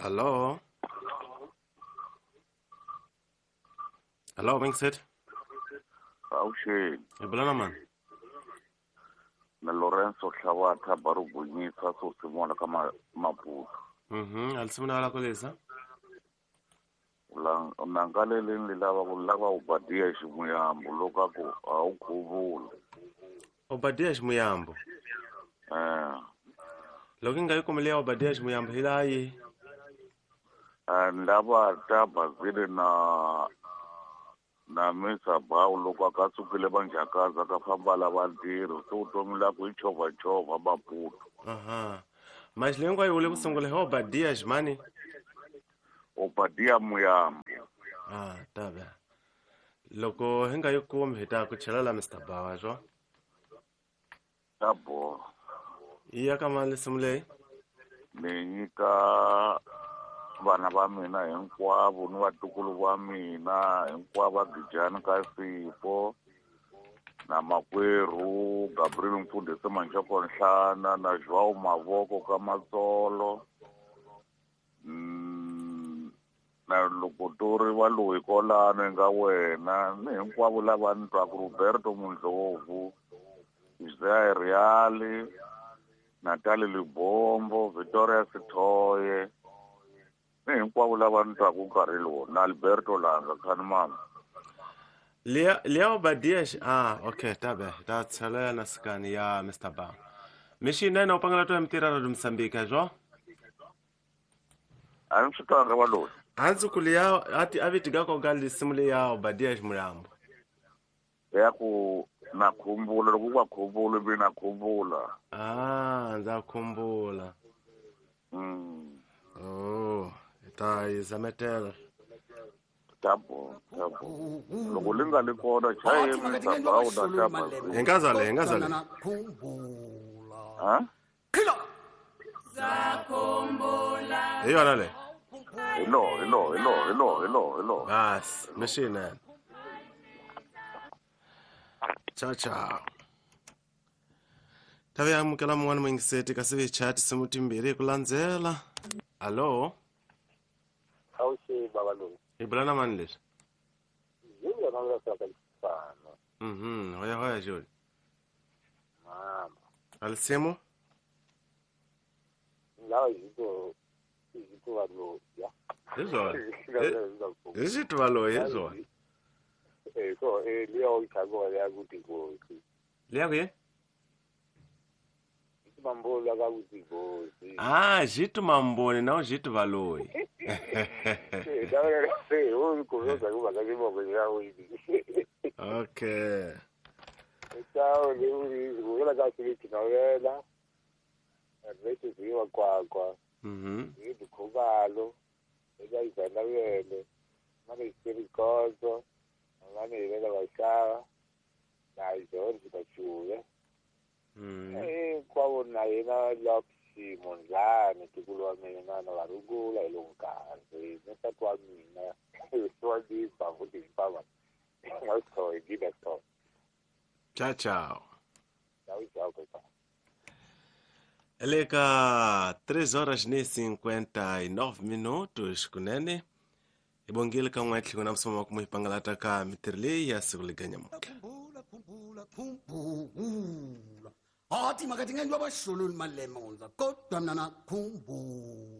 Allo? Allo, Mingset? Avuxeni. Hi bula na mani? Na Lorenzo Hlawatha Barugunyisa Sosimona ka Maputo. Alisimuna wala kolesa? Nangaleleni lilava ku lava Obadia Ximuyambo loko a ku a wu khuvula. Obadia Ximuyambo. Loko i nga yi kumile ya Obadia Ximuyambo hi laha yi? Lava ta Bazile na Misa Bawu loko a ka sukile vanjhakaza ka famba lava ntirho se vutomi la ku i chovhachovha Maputo. Aha. Manje leyi hinkwayo u le ku sungula hi Obadia Ximani? Obadia Muyambo. Ah, tabe. Loko hi nga yi kumi hi ta ku chela la Mr. Bawa swo. Ta boha. Yi ya ka mani risimu leyi? Ni nyika vana va mina hinkwavo ni vatukulu va mina hinkwavo va Gijani ka Sipho na makwerhu Gabriel Mfundhisi Manjoko Nhlana na Joao Mavoko ka Matsolo. Na loko to ri va loyi kolano nga wena ni hinkwavo lava ni twaku Roberto Mundlovu, Isaiah Reali, Natalie Libombo, Victoria Sithoye, ni hinkwavo lava ni twaku nkarhi lowu na Alberto Langa khani mama. Liya Obadia okay, tabe. Ta tshelela na sikani ya Mr. Ba. Mixinene u pangela to mitirha ra Mozambique swo? A ni swi twanga va loyi. A ndzi ku liya a ti a viti ka koka risimu leya Obadia Ximuyambo. Ya ku na khumbula loko ku va khumbula mi na khumbula. Ah, ndza khumbula. Oh, ta yi zametela. Ta bo, ta bo. Loko li nga li kona chaye Mr. Bawu na ta Bazile. Hi nga zale, hi nga zale. Ha? Hi yona leyi. Hi lo, hi lo, hi lo, hi lo, hi lo, hi lo. Bas, mixinene. Ciao ciao. Tave amukela mun'wana muyingiseti kasi vi chat simu timbirhi hi ku landzela. Allo? Avuxeni baba loyi. Hi bula na mani leswi? Julia na nga ka Lifano. Hoya hoya Julia. Mama. Alisimu? Lawa hiko va loyi. Hi swona. Hi xi va loyi hi swona. So liya u tshamiwa ya ku tigosi. Liya ku yini? Mambola ka ku tigosi. Ah, Jitu Mamboni na Jitu Valoyi. Okay. Ciao, le ku ka swi novela. Rete ziwa kwa kwa. Ni dikhubalo. Eka izana yele. Mane isirikozo. Mane ilela bashara. Na George Bachuya. Kwavo na yena Loxi Mondlane tikulu wa mina na varungula hi lowu nkarhi ni nsati wa mina wa dimba futhi hifamba nga swi gida so. Ciao ciao. Ciao ciao kota. Eleka 3 horas ni 59 minutos kunene. Ibongile ka n'we tlhelo na msomo wa ku muhipangalata ka mitirho leyi ya siku liganyamuka. Khumbula, khumbula, khumbula. Athi makathi ngendwa bashulul malemonza kodwa mina nakhumbula.